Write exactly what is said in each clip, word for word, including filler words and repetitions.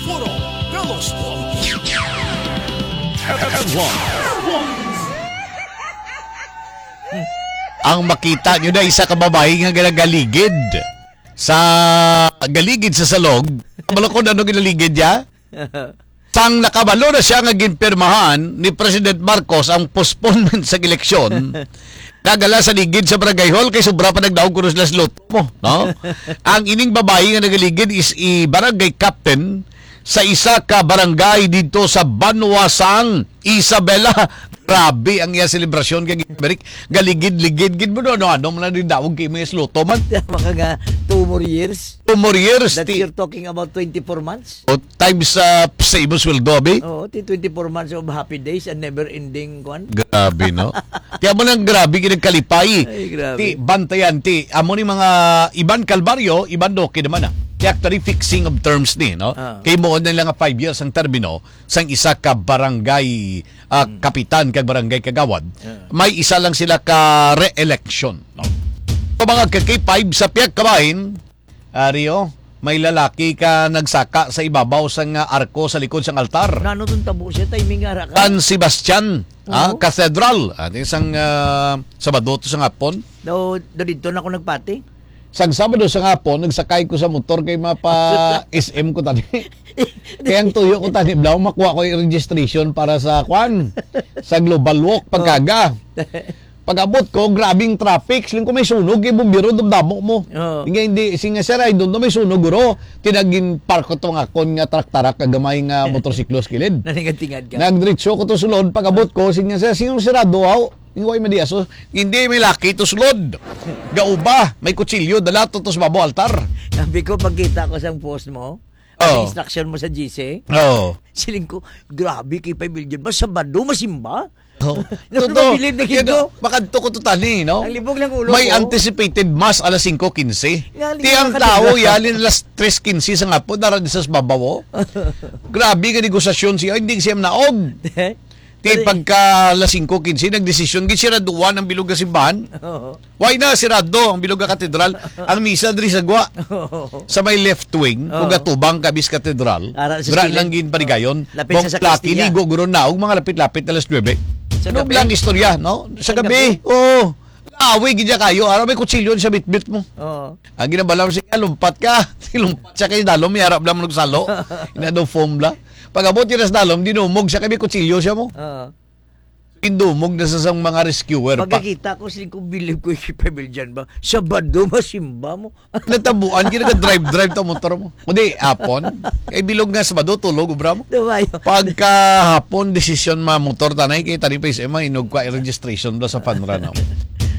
Puro Veloz Bomb. Headlines. Ang makita nyo na isa ka babayi nga ginagaligid sa galigid sa salog. Kabalo ko na ano ginaligid niya? Sang nakabalo na siya nga ginpirmahan ni President Marcos ang postponement sa eleksyon, nagala sa ligid sa barangay hall kay sobra pa nagdaog kuno sila sa loto mo, no? Ang ining babayi nga nagaligid is i barangay captain sa isa ka barangay dito sa Banwa sang Isabela. Grabe ang iya selebrasyon kay Eric. Galigid-ligid gid mo, no? Ano, ano man ang daog kay may loto man. Maka nga two more years. Two more years. That Ti- you're talking about twenty-four months? O, times, ah, sa imong sweldo, abi? Oo, ti twenty-four months of happy days and never-ending kwan. Grabe, no? Kaya mo nang grabe, ginagkalipay. Ay, grabe. Ti, bantayan, ti, amo ni mga iban kalbaryo, iban doki naman, ah. Ti actually fixing of terms ni, no? Ah. Kay mo na lang nga five years ang termino sang isa ka barangay, ah, Hmm. kapitan kag barangay kagawad. Ah. May isa lang sila ka re-election, no? So, mga ka-, K five sa pihak kabahin, Ari, oh, may lalaki ka nagsaka sa ibabaw sang, ah, arko sa likod sang altar. Nano tong tabo siya? Timing ara ka? San Sebastian, ah, Oo. Cathedral. Ah, di sang, ah, Sabado to sa hapon. Daw, daw dito na ako nagpati. Sang Sabado sa hapon, nagsakay ko sa motor kay mapa S M ko tani. Kaya ang tuyo ko tani, blaw, makuha ko yung registration para sa kwan, sa Global Walk, pagkaga. Pag-abot ko, grabing traffic. Siling ko, "May sunog, kay bumbiro, dumdamo mo." Oo. Nga hindi, siling nga, "Sir, I don't know, may sunog, guro." Tinagin park ko to nga akon nga trak-tarak, nga gamay nga motorsiklo sa kilid. Nalingat-tingad ka. Nagdiretso ko to sulod, pag-abot ko, siling nga, "Sir, sino sirado, haw?" Yung way madiaso, "Hindi, may laki to sulod. Gauba, may kutsilyo, dala to, to sa babo altar." Sabi ko, pagkita ko sa post mo, ang Oo. instruction mo sa G C, Oo. siling ko, "Grabe, kay five million ba? Sabado, masimba?" Oh. Ano Totoo. Mabilib na Kaya gid, no? Makadto ko to tani, no? Ang libog lang ulo May ko. Anticipated mass alas singko quince. Nga, Ti ang libog ka tao, na. Yalin alas tres quince sa ngapo, dara di sa babaw, oh. Grabe nga negosasyon siya, hindi siya naog. Ti Pero pagka alas singko quince, nagdesisyon, gid siya duwa ng bilog nga simbahan. Oo. Why na, sirado ang bilog nga katedral? Ang misa diri sa gwa. Oo. Sa may left wing, Oo. kung gatubang ka bis katedral, Ara sa dira kilid. lang gin parigayon. Lapit Bong sa sakristiya. Laki, ligo, guro na, og mga lapit-lapit na alas nuebe. Sa Ano gabi? Blang istorya, no? Sa Sa gabi, gabi? Oo. Away gid kayo, ara may kutsilyo sa bitbit mo. Oo. Ang ginabalam siya, lumpat ka. Lumpat siya kay dalom, may harap lang magsalo. Ina daw foam bla. Pag-abot yun sa dalom, dinumog siya kay may kutsilyo siya mo. Oo. Pindumog na sa sang mga rescuer pa. Pagkakita ko, siling ko, "Bilib ko yung pamilyan ba? Sabado, masimba mo." Natabuan, ginaga-drive-drive ta motor mo. Kundi, apon. Kay bilog nga Sabado, tulog, obra mo. Dumayo. Pagkahapon, desisyon ma motor tanay, kay tani pa isa, mainog ka, registration daw sa panranaw.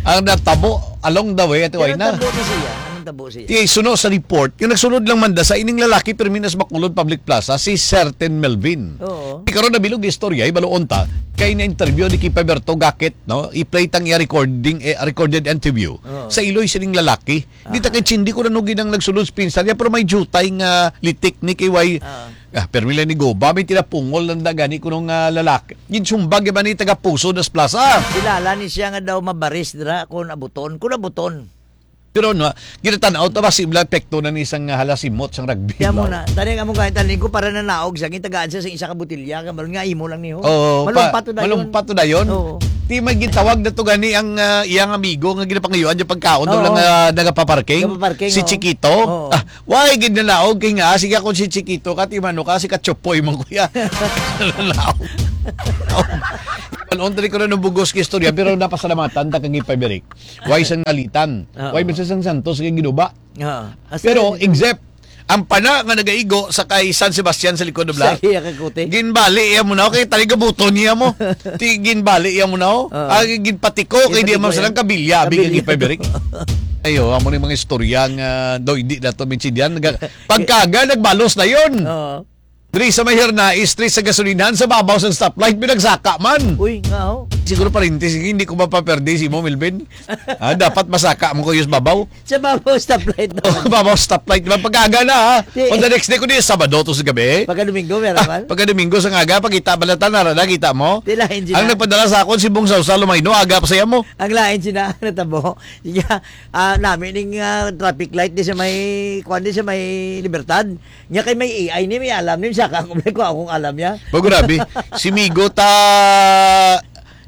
Ang natabo, along the way, ati Pero way na. Tabo ni siya. Anong tabo siya? Ti, suno sa report, yung nagsulod lang manda sa ining lalaki, pero minas Bacolod Public Plaza, si Certain Melvin. Oo. Di karon nabilog istorya, ibaluon ta, kay na-interview ni Kipa Berto Gakit, no? I-play tang iya recording, eh, recorded interview Oo. sa iloy sining lalaki. Di ta Ah. kay Chindi ko na nugi nang nagsulod sa pinsan niya, pero may jutay nga litik ni kay way. Ah. Ah, pero mila ni Goba, may tinapungol lang da gani kuno nga lalaki. Ginsumbag ba ni taga Puso das Plaza? Kilala ni siya nga daw mabaris dira kung abuton. Kung abuton. Pero no, ginatanaw ta ba si Bla epekto na ni isang, ah, halasimot sang rugby, Kaya mo no? na, tani nga mo kahit taling ko para nanaog siya, gitagaan siya sa isa ka botilya, ka maron nga imo lang niyo. Oo, Malumpat pa-, to dayon. malumpat to dayon. Oo. Di may gintawag na to gani ang, ah, iyang amigo nga ginapangayuan yung pagkaon doon Oo. lang, ah, nagapaparking. Nagapaparking, Si oo. Chiquito. Oo. Ah, why gid nanaog kay nga, sige ako si Chiquito ka, timano ka, si Kachopoy man kuya. Nanaog. Ano, dali ko na nabugos ka istorya, pero napasalamatan ta kang ipabirik. Why sang nalitan? Oo. Why man sa sang Santos nga ginuba? Oo. Pero, except, ang pana nga nagaigo sa kay San Sebastian sa likod na bla, Sa iya ka kuti? ginbali iya mo na, okay, taliga buto niya mo. Ti, ginbali iya mo na, oh. Oo. Ah, ginpatiko, kay di Ginpatiko mo silang yan. kabilya, abi Kabilya. kay Peberic. Ayo, amo ni mga istorya nga, do, hindi na to minsidian. Naga-, pagkaga, nagbalos na yun. Oo. Diri sa may Herna Street sa gasolinahan, sa babaw sa stoplight, pinagsaka man. Uy, nga, oh. Siguro parintis, hindi ko mapaperde si mo, Melvin. Ah, dapat masaka mo ko yung babaw. Sa babaw stoplight na. Babaw stoplight. Di ba? Pag-aga na, ha? Di. On the next day ko, di, Sabado to sa gabi. Pagka Domingo, meron Ah, man. Pagka Domingo sa aga, pagkita, balatan na, na, kita mo? Di lain sila. Ang nagpadala sa akon, si Bong Sausa, Lumayno, aga pa siya mo. Ang lain sila, natabo. Sige, ah, nami ning, ah, traffic light di sa may, kuwan di sa may Libertad. Nya kay may A I ni, may alam ni, saka ako, may kuha akong alam niya. Ba, grabe. Si Migo ta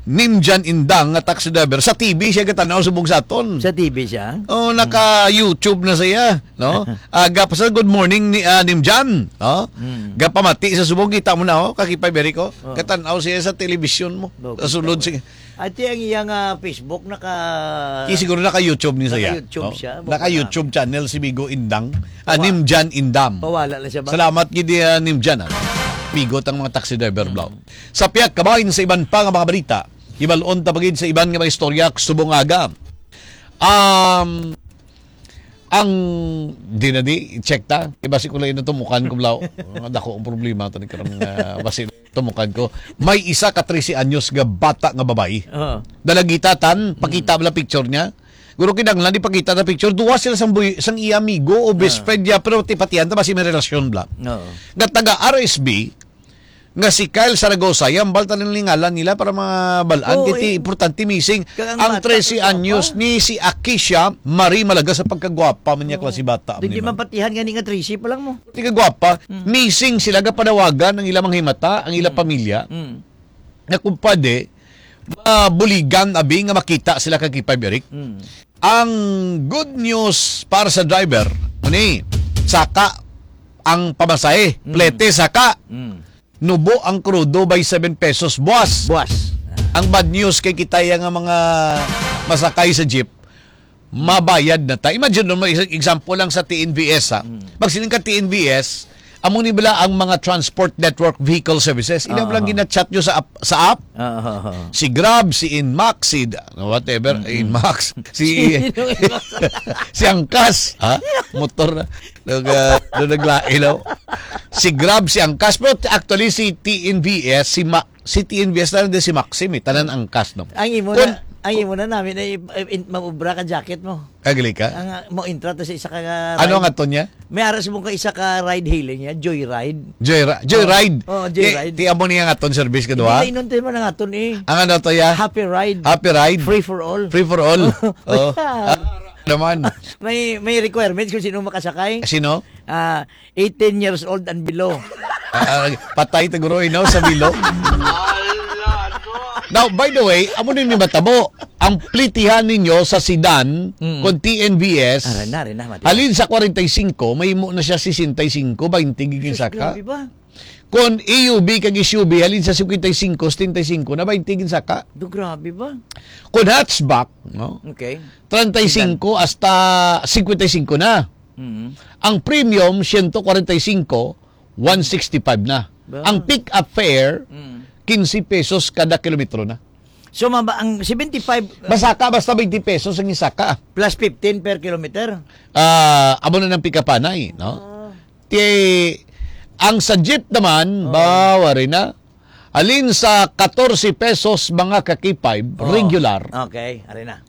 Nimjan Indang nga taxi driver, sa T V siya gatanaw subong sa aton. Sa T V siya? Oh, naka-YouTube na siya, no? Aga pa sa good morning ni, ah, Nimjan, no? Mm. Gapamati sa subong, kita mo na, oh, kakipay beri ko. Oh. Gatanaw siya sa television mo. Sa sulod, sige. Ati ang iyang, ah, Facebook naka Ki siguro naka-YouTube ni siya. Naka-YouTube No? siya. Naka-YouTube channel si Migo Indang. Ah, Pawa- Nimjan Indam. Pawala na siya ba? Salamat gid, ah, Nimjan, ah. Pigot ang mga taxi driver, Blau. Sa piyak kabahin sa iban pa nga mga balita, hibalon ta pa gid sa iban nga mga istorya subong aga. Um, ang di na di, check ta. Iba si kulay na tumukan ko, Blau. Ang dako ang problema to ni karong, ah, basi tumukan ko. May isa ka trese anyos nga bata nga babayi. Oo. Dalagita tan, pakita bala picture niya. Guro, kinahanglan ipakita na picture. Duwa sila sang buy-, sang iya amigo o best Ah. friend niya, pero tipatihan ta ba si may relasyon bla. Oo. Nga taga R S B, nga si Kyle Saragosa, yan bal tanan lingalan nila para mabalaan. Oo, Kaya ti eh. importante missing. Kag ang Ang bata, trese kagwapa. anyos ni si Akisha Marie Malaga sa pagkagwapa man niya Oo. klase bata. Di, di man ni ba? Mapatihan gani nga trese pa lang mo. Ti kagwapa, Mm. missing sila, gapanawagan ang ilang mga himata, ang ilang Mm. pamilya. Mm. Nga kumpade, mabuligan abi nga makita sila kag K five Eric. Mm. Ang good news para sa driver, muni, saka ang pamasahe, Mm. plete saka. Mm. Nubo ang krudo by seven pesos buwas. Buwas. Ang bad news kay kita ya nga mga masakay sa jeep, mabayad na ta. Imagine mo, isang example lang sa T N V S, ha. Mm. Pag siling ka T N V S, amo ni bala ang mga transport network vehicle services. Ina mo lang Ah. gina-chat nyo sa app, sa app. Ah, ah, ah. Si Grab, si Inmax, si da-, whatever, Mm-mm. Inmax. Si, Sino Inmax? si Angkas, ha? Motor na. Nag, ah, nung naglain, no? Si Grab, si Angkas. Pero actually, si T N V S, si Ma-, si T N V S na rin si Maxim, eh. Tanan Angkas, no? Ang imo Kun- na, ang imo na namin ay, ay, in-, maubra ka jacket mo. Agli ka? Ang, ah, mo intra to sa isa ka Ano ride. nga to niya? May aras mo ka isa ka ride hailing niya, Joyride. Joyri-, Joyride. Oh, oh, Joyride. Ti, ti amo niya nga ton service ka Hindi duha? na inunti mo na nga ton eh. Ang ano to ya? Happy ride. Happy ride. Free for all. Free for all. Oh. Basta. Ah, naman. May, may requirements kung sino makasakay. Sino? Ah, eighteen years old and below. Ah, patay ta guro, no, sa bilo. Now, by the way, amo din ni matabo. Ang plitihan ninyo sa sedan, Mm. kung T N V S, Aray na, aray na, mati. halin sa forty-five, mahimo na siya sixty-five, twenty gigin Sus, saka. grabe ba? Kung A U V kag S U V, halin sa fifty-five, seventy-five na, twenty gin saka. Do, grabe ba? Kung hatchback, no? Okay. Treinta y cinco hasta cincuenta y cinco na. Mm. Ang premium, ciento cuarenta y cinco, one sixty-five na. Ba? Ang pick-up fare, Mm. quince pesos kada kilometro na. So, maba-, ang seventy-five, uh, Masaka basta twenty pesos ang isaka. plus fifteen per kilometer? Ah, amo na ng pick-up anay, no? Ah. Ti, ang sa jeep naman, Oo. bawa rin na. Alin sa catorce pesos mga ka-K five, Oo. regular. Okay, ari na.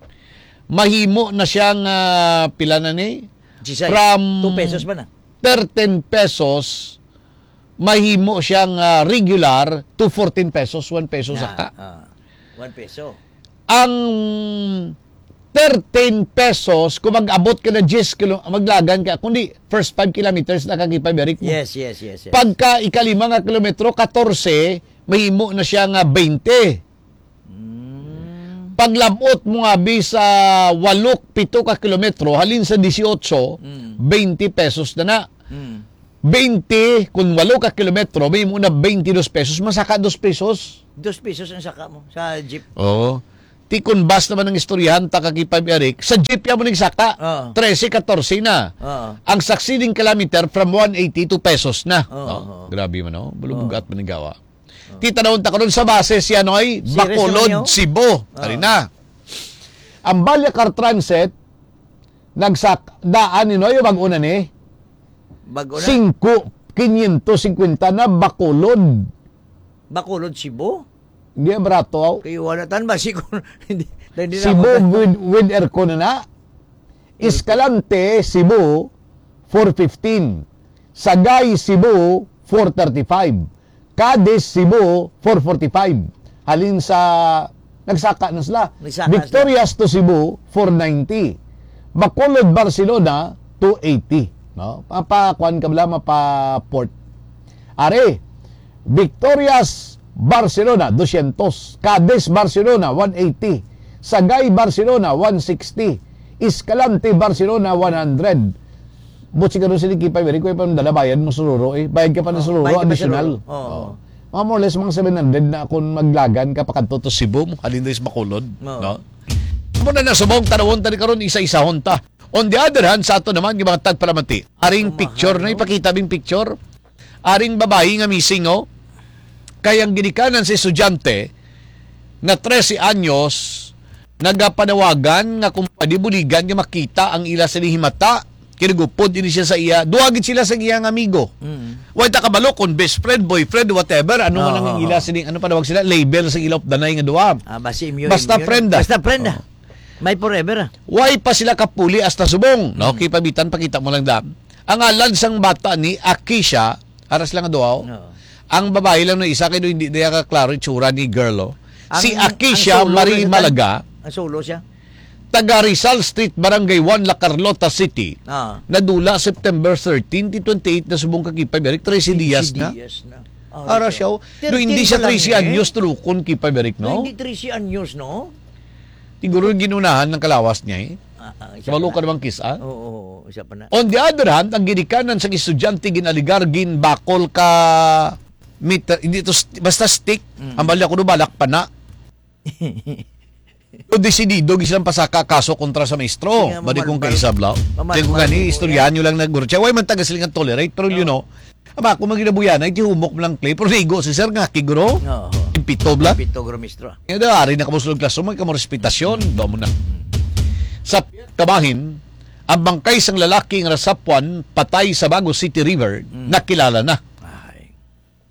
Mahimo na siyang, ah, pila na ni? Jisay. From Two pesos ba na? thirteen pesos, mahimo siyang, ah, regular to fourteen pesos, one peso Na, saka. ah, one peso. Ang thirteen pesos, kung mag-abot ka na diyes kilo-, maglagan ka, kundi first five kilometers na kag ipabalik mo. Yes, yes, yes, yes. Pagka ikalima nga kilometro, katorse, mahimo na siya nga baynte. Mm. Paglabot mo nga bi sa walo, pito ka kilometro, halin sa dieciocho, Mm. baynte pesos na na. Mm. Baynte, kung walo ka kilometro, mahimo na baynte dos pesos, masaka dos pesos. Dos pesos ang saka mo sa jeep. Oo. Ti kun bus naman ang istoryahan, ta kag ipab-, Eric, sa jeep ya mo ning saka, Oo. trese, katorse na. Oo. Ang succeeding kilometer from one eighty, two pesos na. Oo, Oh, oo. grabe man, oh. Bulubugat Oo. man ang gawa. Oo. Ti tanawon ta karon sa base siya, Noy, Si Bacolod, Resuello? Cebu. Oo. Ari na. Ang Balyacar Transit, nagsak-, daan ni Noy, bag-o na ni? Bag-o na? Singko, quinientos cincuenta na, Bacolod. Bacolod, Cebu? Hindi barato, aw. Kay wala tan ba si kon-, hindi, hindi na Cebu ako with, with aircon na na. Escalante, Cebu, four fifteen. Sagay, Cebu, four thirty-five. Cadiz, Cebu, four forty-five. Halin sa, nagsaka na sila. Nagsaka sila. Victorias to Cebu, four ninety. Bacolod, Barcelona, two eighty. No? Mapa-, kuan ka bala, mapa-port. Are, Victorias, Barcelona, dosyentos. Cadiz, Barcelona, one eighty. Sagay, Barcelona, one sixty. Escalante, Barcelona, one hundred. But siguro sila Kipay Beri, kaya pa dala bayad mo sururo eh. Bayad ka pa na Oh, sururo, bayad ka pa additional. sururo. Oo. Oh. Mga more or less, mga seven hundred na kung maglagan ka pa kadto to Cebu, mo halin diri sa Bacolod, Oo. no? Amo na na, subong, tanawon tani karon, isa-isahon ta. On the other hand, sa ato naman, yung mga tagpalamati, aring Atumahan, picture na, no? Ipakita bing picture. Aring babayi nga missing, oh. Kay ang ginikanan sa estudyante nga trese anyos, nagapanawagan nga kung pwede buligan nga makita ang ila sa himata, kinagupod ini siya sa iya. Duha gid sila sa iya nga amigo. Mm. Wa ta kabalo kung best friend, boyfriend, whatever. Ano man ang Oo, ila oo. sini, ano panawag sila? Label sa ila updanay nga duha. Ah, basi immune, Basta immune. friend, ah. Basta friend, ah. Oo. May forever, ah. Why pa sila kapuli hasta subong? No? Mm. Kay pabitan, pakita mo lang da. Ang ngalan sang bata ni Akisha, aras lang nga duha, oh. Oo. Ang babae lang no isa kay do hindi diya ka klaro itsura ni girl, oh. Si Ang, Akisha ang solo Marie na Malaga, ang solo siya. taga Rizal Street, Barangay one, La Carlota City. Ah. Nadula September thirteen, twenty-eight na subong ka Kipay Beri, trese dias na. Dias na. Ah, Ara siya. siya, oh. No, hindi Thirteen siya pa lang, trese eh. anyos, tulukon Kipay Beri, no? No, hindi trese anyos, no? Siguro ginunahan ng kalawas niya, eh. Ah, ah, isa Kabalo pa ka na. naman, Kis, ah? Oo, oo, isa pa na. On the other hand, ang ginikanan sang estudyante ginaligar, ginbakol ka meter, hindi to st-, basta stick, Mm. ang bali ako do balak pa na. So, desidido gid silang pasaka kaso kontra sa maestro. Sige nga, Bali kong mamalbal. kaisablaw. Mamalbal Di ko gani, ko, istoryahan nyo lang na guro. Siya, way man taga silingan tolerate, pero you Oo. know, aba, kung maginabuyan, ay tihumok mo lang play. Pero naigo si sir nga, kiguro. Oo. Impito bla. Impito, guro, mistro. Kaya da, ari na kamo sulod klaso, may kamo respitasyon. Do mo na. Sa kabahin, ang bangkay sang lalaki nga nasapwan patay sa Bago City River, Mm. nakilala na. Ay.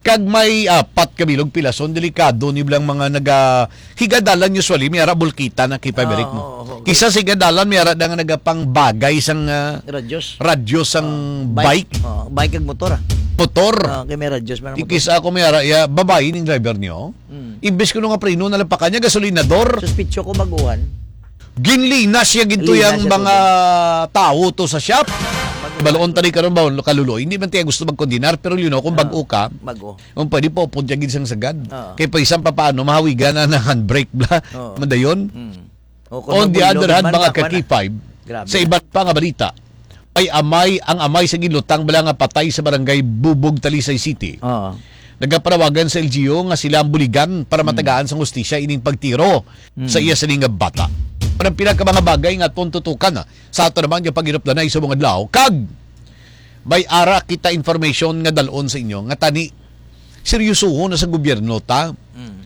Kag may apat ka bilog pilason, delikado ni bilang mga naga-, higadalan usually, may ara bulkita na kay Pabrik Ah, mo. oo, oo. Kisa sa higadalan, may ara na nga nagapangbagay sang, ah, Radyos. radyo sang Ah, bike. bike. Oh, bike kag motor, ah. Motor. Ah, kay may radyos man ang motor. Ikis ako may ara, ya, babayi ning driver niyo. Mm. Imbes ko nung apreno na lang pa kanya, gasolinador. Suspitso ko baguhan. Ginlinas siya ginto Linas yang siya mga tubig. tao to sa shop. Bago. Baloon tani karon ba, kaluloy? Hindi man tayo gusto magkondinar, pero you know, kung Ah, bago ka, bago. kung pwede po, upod siya gid sang sagad. Ah. Kay pa isang papaano, mahawigan na ng handbrake bla. Oo. Madayon. Mm. O, kung On the magbulo, other hand, man, mga takpan na. ka-K five, Grabe sa na. iban pa nga balita, ay amay, ang amay sa ginlutang bala nga patay sa barangay Bubog, Talisay City. Oo. Nagapanawagan sa L G U nga sila ang buligan para Mm. matagaan sang hustisya ining pagtiro Mm. sa iya sining nga bata. Parang pila ka mga bagay nga aton tutukan na sa ato naman nga pag-inupdanay sa mga adlaw. Kag may ara kita information nga dalon sa inyo nga tani seryosohon na sa gobyerno ta. Mm.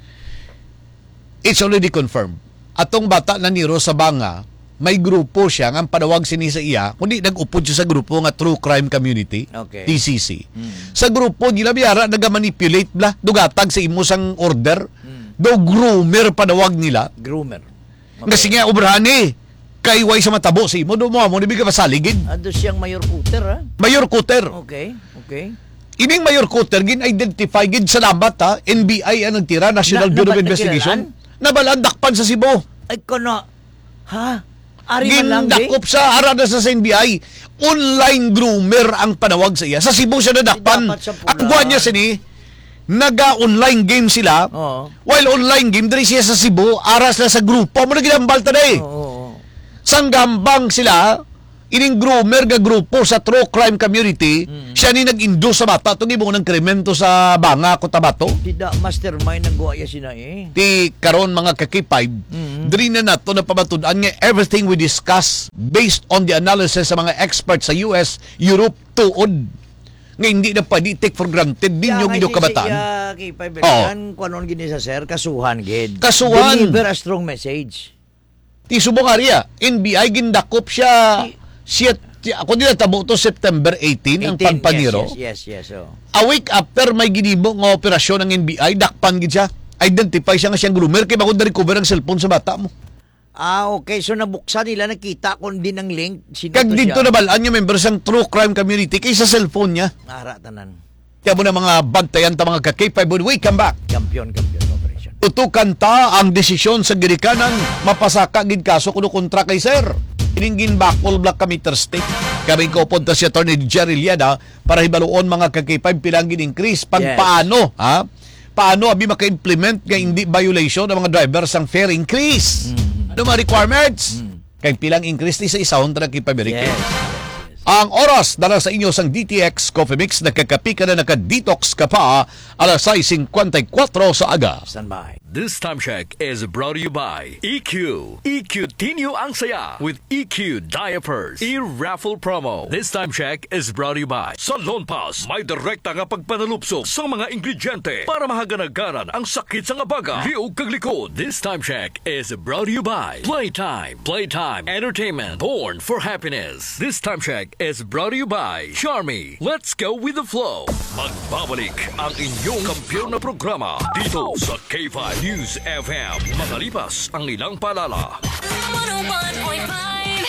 It's already confirmed. Atong bata na niro sa Banga, may grupo siya nga ang panawag sini sa iya, kundi nag-upod siya sa grupo nga True Crime Community, Okay. T C C. Mm. Sa grupo nila, biyara, nagamanipulate bla, dugatag sa imo sang order. Mm. Do groomer panawag nila. Groomer. Nga Okay. sige, obrani. Kay way sa matabo sa imo, do mo amo ni biga masaligid. Ado siyang Mayor Cutter, ha? Mayor Cutter. Okay, okay. Ining Mayor Cutter, gin-identify gid, salamat, ha, N B I ang nagtira, National Na-, Bureau of napa-, Investigation. nakilalaan? Nabalaan dakpan sa Cebu. Ay, kono, ha? Ari man lang, Gindakop di? sa, ara na sa, sa N B I. Online groomer ang panawag sa iya. Sa Cebu siya nadakpan. Di dapat sa Ang buwan niya pula. sini, naga-online game sila. Oo. While online game, diri siya sa Cebu, ara sila sa grupo. Amo na ginambal ta, day. Oo, oo, oo. Sang gambang sila, ining groomer nga grupo sa true crime community, Mm. siya ni nag-induce sa bata. Itong ibong ng krimen to sa Banga, Cotabato. Di da mastermind ang guwa ya sina eh. Ti karon, mga ka-K five, Mm. diri na nato napamatud-an nga everything we discuss based on the analysis sa mga experts sa U S, Europe, tuod. Nga hindi na pwede take for granted Kaya ninyo nga inyong si, kabataan. si, ah, K five Oo. Belikan, kung ano gini sa sir, kasuhan gid. Kasuhan. Deliver a strong message. Ti subong ari, ah, N B I gindakop siya. I- siya, siya, ako nila tabo to September eighteen, ang Eighteen, pagpaniro. yes, yes, yes, yes, oh. A week after may ginimo nga operasyon ang N B I, dakpan gid siya. Identify siya nga siyang groomer kay bangod na-recover ang cellphone sa bata mo. Ah, okay. So, nabuksan nila, nakita kung din ang link. Sino Kag to dito siya? Nabalaan nga member sang true crime community kay sa cellphone niya. Ara tanan. Kaya mo na mga bantayan ta, mga ka-K five, when we come back. Champion, champion operation. Tutukan ta ang desisyon sa ginikanan, mapasaka gid kaso kuno kontra kay sir. Ining ginbakol Black Committers Day. Kami ko punta si Attorney Jerry Liada para hibaluon mga ka-K five pila ang gin-increase. Pag Yes. paano, ha? Paano abi maka-implement nga hindi violation ang mga driver sang fare increase? Mm. Ano mga requirements? Mm. Kay pilang increase ni sa isahon ta na kay Pabirike. Yes, yes, yes. Ang oras dala sa inyo sang D T X Coffee Mix, nakakapi ka na, naka-detox ka pa, alas sais singkwenta y kuwatro sa aga. Standby. This time check is brought to you by E Q. E Q Tinyo ang saya with E Q diapers. E-raffle promo. This time check is brought to you by Salon Pass. May direkta nga pagpanalupsok sa mga ingrediente para mahaganaganan ang sakit sa nga baga, liog kag likod. This time check is brought to you by Playtime. Playtime Entertainment. Born for happiness. This time check is brought to you by Charmy. Let's go with the flow. Magbabalik ang inyong kampiyon na programa dito sa K five News F M. Makalipas ang ilang paalala. One oh one point five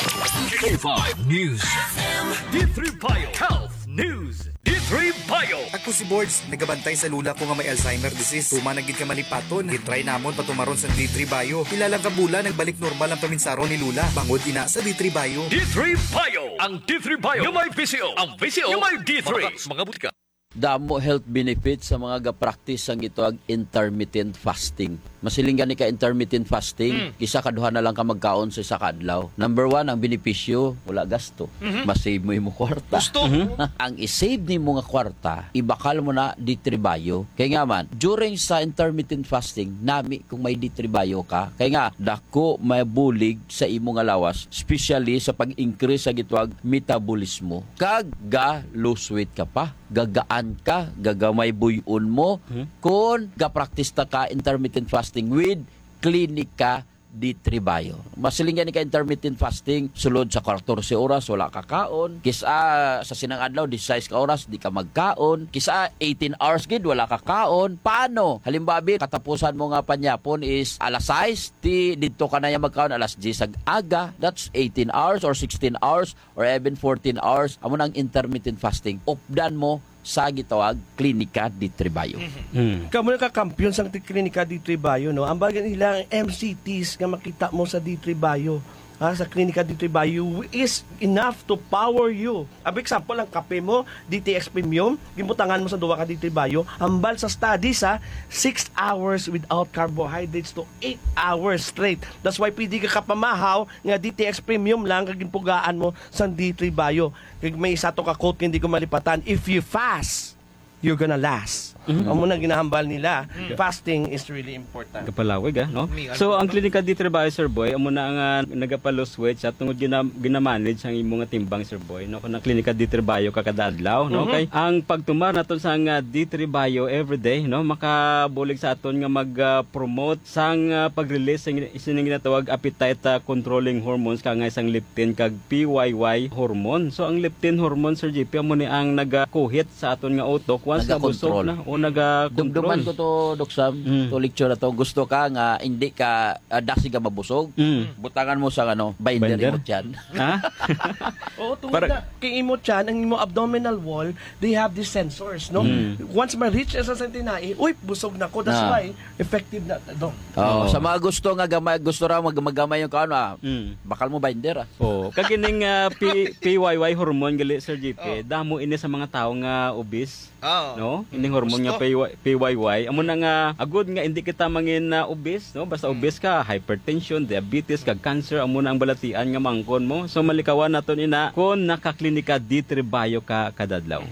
K five News F M. D three Bio Health News. D three Bio. Ako si Bords, nagabantay sa lula ko nga may Alzheimer disease. Tuman na gid ka malipaton. Gitry namon patumaron sa D three Bio. Pila lang ka bulan, nagbalik normal ang paminsaron ni lula. Bangod ina sa D three Bio. D three Bio. Ang D three Bio nga may V C O. Ang V C O nga may D three. Mga, mga butika. Damo health benefits sa mga ga-practice sang gitawag intermittent fasting. Masiling gani ka intermittent fasting, Mm. isa ka duha na lang ka magkaon sa isa ka adlaw. Number one, ang benepisyo, wala gasto. Mhm. Ma-save mo imo kwarta. Gusto. Mhm. Ang i-save nimo nga kwarta, ibakal mo na D three Bio. Kay nga man, during sa intermittent fasting, nami kung may D three Bio ka. Kay nga, dako mabulig sa imo nga lawas, especially sa pag-increase sa gitawag metabolismo. Kag ga lose weight ka pa, gagaan ka, gagamay buy-on mo, Hmm. kon ga-practice ta ka intermittent fasting with Clinica D three Bio. Masiling gani ka intermittent fasting, sulod sa katorse oras, wala ka kaon. Kis-a sa sinang adlaw, disisais ka oras, di ka magkaon. Kis-a eighteen hours gid, wala ka kaon. Paano? Halimbawa, bi, katapusan mo nga panyapon is alas sais, ti didto ka na ya magkaon alas diyes ag aga. That's eighteen hours or sixteen hours or even fourteen hours. Amo na ang intermittent fasting. Updan mo sa gitawag Klinika D three Bio. Mhm. Mm. Kamo nakakampiyon sang ti-, Klinika D three Bio, no? Ang bagay nila, ang M C Ts nga makita mo sa D three Bio, ha, sa Klinika D three Bio is enough to power you. Ang example, ang kape mo, D T X Premium, gibutangan mo sa duwa ka D three Bio, hambal sa studies, ha, six hours without carbohydrates to eight hours straight. That's why pwede ka kapamahaw nga D T X Premium lang kag ginpugaan mo sang D three Bio. Kag may isa to ka quote nga hindi ko malipatan, "If you fast, you're gonna last." Mhm. Amo na ginahambal nila. Mm. Fasting is really important. Kapalawig, ah, no? May So, ano ang to? Klinika D three Bio, Sir Boy, amo na ang, ah, nagapa-lose weight sa tungod gina-, ginamanage ang imo nga timbang, Sir Boy, no? Kung ang Klinika D three Bio ka kada adlaw, no? Mhm. Kay ang pagtumar naton sa nga D three Bio everyday, no? Makabulig sa aton nga mag, ah, promote sang, ah, pag-release sang sining ginatawag appetite, ah, controlling hormones, kangay sang leptin kag P Y Y hormone. So, ang leptin hormone, Sir J P, amo ni ang nagakuhit sa aton nga utok once nabusog Nagakontrol. na o nagakontrol. Dumduman ko to, Doc Sam, Mm. to lecture na to. Gusto ka nga hindi ka, ah, dasig ka mabusog, Mm. butangan mo sa, ano, binder Binder? imo tiyan. Ha? Oo, tungod Para na kay imo tiyan, ang imo abdominal wall, they have these sensors, no? Mm. Once ma-reach na sa tinai, "Uy, busog na ko." That's Ah. why effective na, Doc. Oh, Oo. sa mga gusto nga gamay, gusto ra mag-, magamay yung kaon, ah, Mm. bakal mo binder, ah. Oo. Kag ining, ah, P-, P Y Y hormone gali, Sir J P, Oh. damo ini sa mga tawo nga obese, Oo. no? Ining hormone nga Gusto. P Y, P Y Y. Amo na nga, agud nga hindi kita mangin, ah, obese, no? Basta Mm. obese ka, hypertension, diabetes, kag cancer, amo na ang balatian nga mangkon mo. So, malikawan naton ina kung nakaklinika D three Bio ka kadadlaw.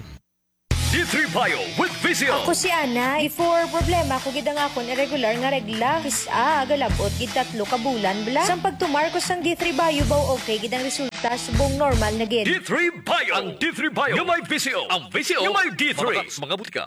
D three Bio with V C O. Ako si Ana. Before, problema ko gid ang akon irregular nga regla. Kis-a, galabot gid tatlo ka bulan bala. Sang pagtumar ko sang D three Bio, baw okay gid ang resulta, subong normal na gid. D three Bio. Ang D three Bio nga may V C O. Ang V C O nga may D three. Mga, mga butika.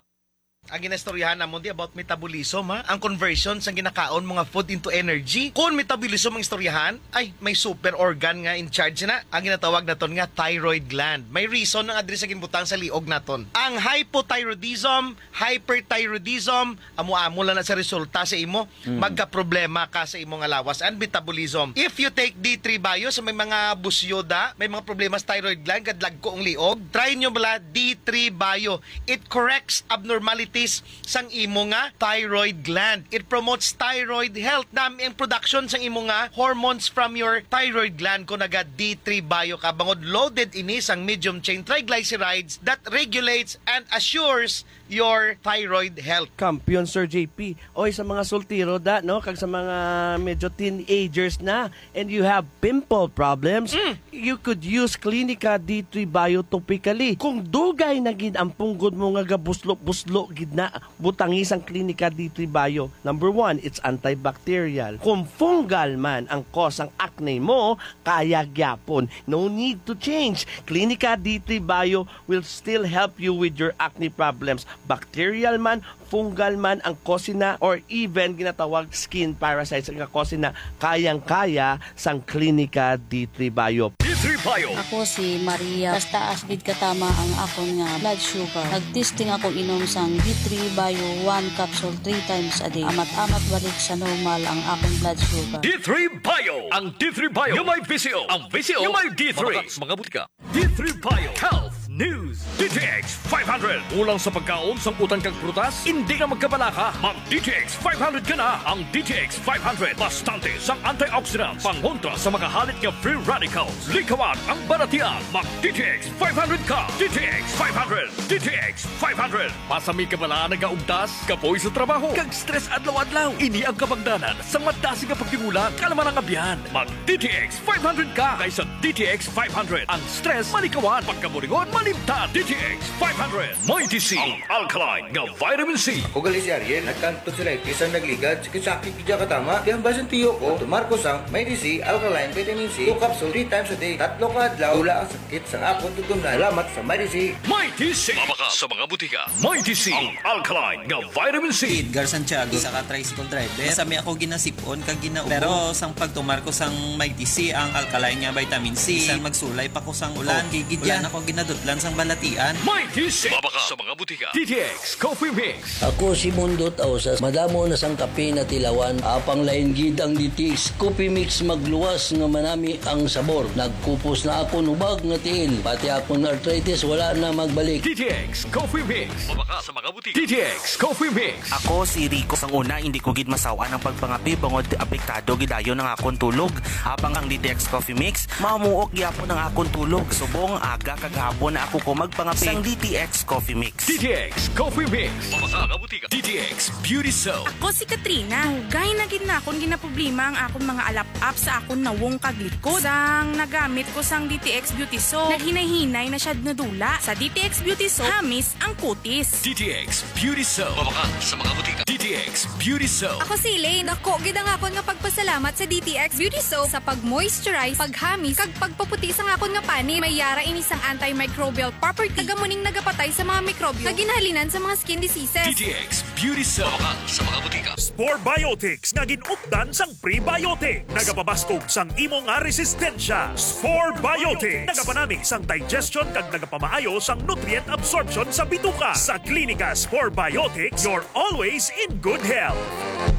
Ang ginaistoryahan namon di about metabolism, ha? Ang conversion sang ginakaon mo nga food into energy. Kung metabolism ang istoryahan, ay may super organ nga in charge na. Ang ginatawag naton nga thyroid gland. May reason ang address sa ginbutang sa liog naton. Ang hypothyroidism, hyperthyroidism, amo-amo lang na sa resulta sa imo. Mm. Magkaproblema ka sa imong lawas and metabolism. If you take D three Bio, sa may mga busyoda, may mga problema sa thyroid gland, kadlagko ang liog, try nyo bala D three Bio. It corrects abnormalities sang imo nga thyroid gland. It promotes thyroid health. Nami ang production sang imo nga hormones from your thyroid gland kung naga D three Bio ka. Bangod loaded ini sang medium chain triglycerides that regulates and assures your thyroid health. Kampiyon, Sir J P. Oy, sa mga soltero da, no, kag sa mga medyo teenagers na, and you have pimple problems, Mm. you could use Clinica D three Bio topically. Kung dugay na gid ang punggod mo nga gabuslo-buslo gid na, butangi sang Clinica D three Bio. Number one, it's antibacterial. Kung fungal man ang cause ang acne mo, kaya gyapon. No need to change. Clinica D three Bio will still help you with your acne problems. Bacterial man, fungal man ang cause na, or even ginatawag skin parasites nga cause na, kayang-kaya sang Clinica D three Bio. D three Bio. Ako si Maria. Taas-taas gid katama ang akon nga blood sugar. Nag-testing ako inom sang D three Bio one capsule three times a day. Amat-amat balik sa normal ang akon blood sugar. D three Bio. Ang D three Bio nga may V C O. Ang V C O nga may D three. Mabaka sa mga butika. D three Bio Health News. D T X five hundred. Kulang sa pagkaon sang utan kag prutas? Hindi ka magkabalaka. Mag D T X five hundred ka na. Ang D T X five hundred, bastante sang antioxidants, pangontra sa mga halit nga free radicals. Likawan ang balatian. Mag D T X five hundred ka. D T X five hundred. D T X five hundred. Basta may kabalaan nagaugtas, kapoy sa trabaho, kag stress adlaw-adlaw. Ini ang kabangdanan sa madasig nga pagtingulang kalaman ang abyan. Mag D T X five hundred ka kaysa D T X five hundred. Ang stress malikawan, pagkaburingon malimtan. D T X five hundred. Mighty C, ang alkaline nga vitamin C. Ako gali si Ariel, nagkang tonsillitis ang nagligad, sakit-sakit gid katama. Kaya ang basin tiyo ko, tumar ko sang Mighty C alkaline vitamin C, two capsule, three times a day. Tatlo ka adlaw, wala ang sakit sang akon tutumnan. Salamat sa Mighty C. Mighty C. Mabaka sa mga butika. Mighty C, ang alkaline nga vitamin C. Si Edgar Santiago, isa ka tricycle driver. Sa mi ako ginasipon kag ginaubos. Pero sang pagtumar ko sang Mighty C, ang alkaline nga vitamin C, bisan magsulay pa ko sang ulan, okay gid yan. Wala na ko ginadutlan sang balatian. Mighty C. Mabaka sa mga butika. D T X Coffee Mix. Ako si Mundot Ausas. Madamo na sang kape natilawan. Apang lain gid ang D T X Coffee Mix, magluwas nga manami ang sabor. Nagkupos na akon hubag nga tiil. Pati akon arthritis wala na magbalik. D T X Coffee Mix. Mabaka sa mga butika. D T X Coffee Mix. Ako si Rico. Sang una, hindi ko gid masaw-an ang pagpangape bangod apektado gid dayon ang akon tulog. Apang ang D T X Coffee Mix, mamuok gyapon ang akon tulog. Subong aga kag hapon na ako ko magpangape. Sang D T X Coffee Mix. D T X Coffee Mix. Mabaka sa mga butika. D T X Beauty Soap. Ako si Katrina. Dugay na gid na akon ginaproblema ang akon mga alap-ap sa akon nawong kag likod. Sang nagamit ko sang D T X Beauty Soap, naghinay-hinay na siya nga dula. Sa D T X Beauty Soap, hamis ang kutis. D T X Beauty Soap. Mabaka sa mga butika. D T X Beauty Soap. Ako si Elaine. Dako gid ang akon nga pagpasalamat sa D T X Beauty Soap sa pag-moisturize, paghamis, kag pagpaputi sang akon nga panit. May yara ini sang antimicrobial property. Taga muning nagapatay sa mga mikrobyo nga ginhalinan sa mga skin diseases. D T X Beauty Soap. Mabaka sa mga butika. Spore Biotics nga gin-updan sang prebiotic. Nagapabaskog sang imo nga resistensya. Spore Biotics. Nagapanami sang digestion kag nagapamaayo sang nutrient absorption sa bituka. Sa Klinika Spore Biotics, you're always in good health.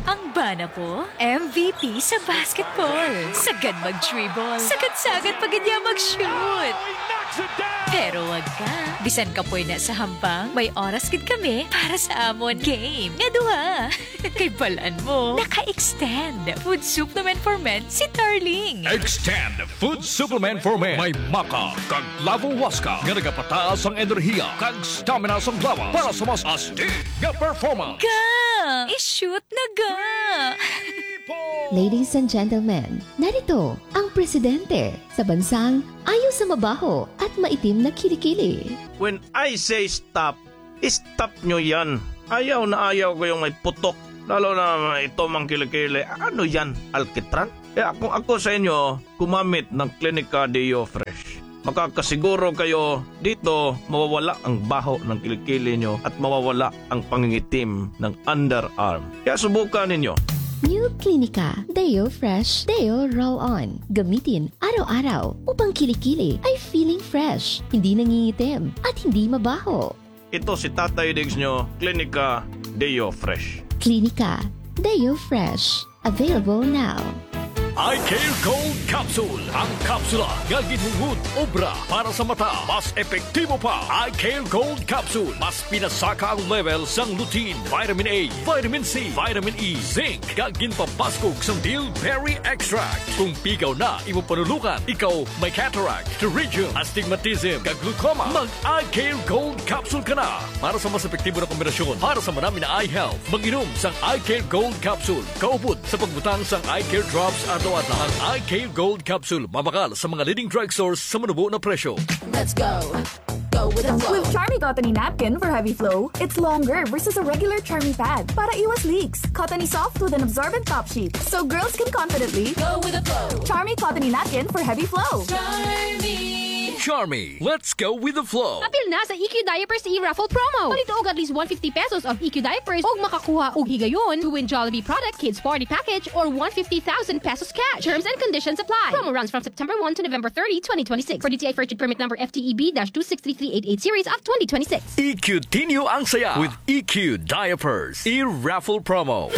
Ang bana ko, M V P sa basketball. Sagad mag-dribble. Sagad-sagad pa gid niya mag-shoot. Pero wag ka. Bisan kapoy na sa hampang, may oras gid kami para sa amon game nga duha. Kay balan mo, naka-extend food supplement for men si Darling. Extend food supplement for men. May maca kag Lavo Huasca nga nagapataas ang enerhiya kag stamina sang lawas para sa mas astig nga performance. Ga! I-shoot na ga! Ladies and gentlemen, narito ang presidente sa bansang ayaw sa mabaho at maitim na kilikili. When I say stop, stop nyo yan. Ayaw na ayaw ko yung may putok. Lalo na ito mang kilikili. Ano yan? Alkitran? Kaya kung ako sa inyo, gumamit ng Clinica Deo Fresh. Makakasiguro kayo dito mawawala ang baho ng kilikili nyo at mawawala ang pangingitim ng underarm. Kaya subukan ninyo. New Clinica Deo Fresh Deo Roll On. Gamitin araw-araw upang kilikili ay feeling fresh, hindi nangingitim, at hindi mabaho. Ito si Tatay Diggs nyo, Klinika Deo Fresh. Clinica Deo Fresh. Available now. Eye Care Gold Capsule. Ang kapsula nga ginhungod obra para sa mata. Mas epektibo pa. Eye Care Gold Capsule. Mas pinasaka ang level sang lutein, vitamin A, vitamin C, vitamin E, zinc, kag ginpabaskog sang bilberry extract. Kung pigaw na imo panulukan, ikaw may cataract, pterygium, astigmatism, kag glaucoma, mag Eye Care Gold Capsule ka na. Para sa mas epektibo na kombinasyon para sa manami na eye health, mag-inom sang Eye Care Gold Capsule. Kaupod sa pagbutang sang Eye Care Drops adlaw-adlaw. Ang Eye Care Gold Capsule mabakal sa mga leading drugstores sa manubo na presyo. Let's go. Go with the flow. With Charmy Cottony Napkin for heavy flow, it's longer versus a regular Charmy pad para iwas leaks. Cottony soft with an absorbent top sheet, so girls can confidently Go with the flow. Charmy Cottony Napkin for heavy flow. Charmy. Charmy, let's go with the flow. Apil na sa E Q Diapers e-raffle promo. Palito og at least one fifty pesos of E Q Diapers ug makakuha og higayon to win Jollibee product, kids party package, or one fifty thousand pesos cash. Terms and conditions apply. Promo runs from September one to November thirty, twenty twenty-six. For D T I purchase permit number F T E B dash two six three three eight eight series of twenty twenty-six. E Q Tinyo ang saya with E Q Diapers e-raffle promo.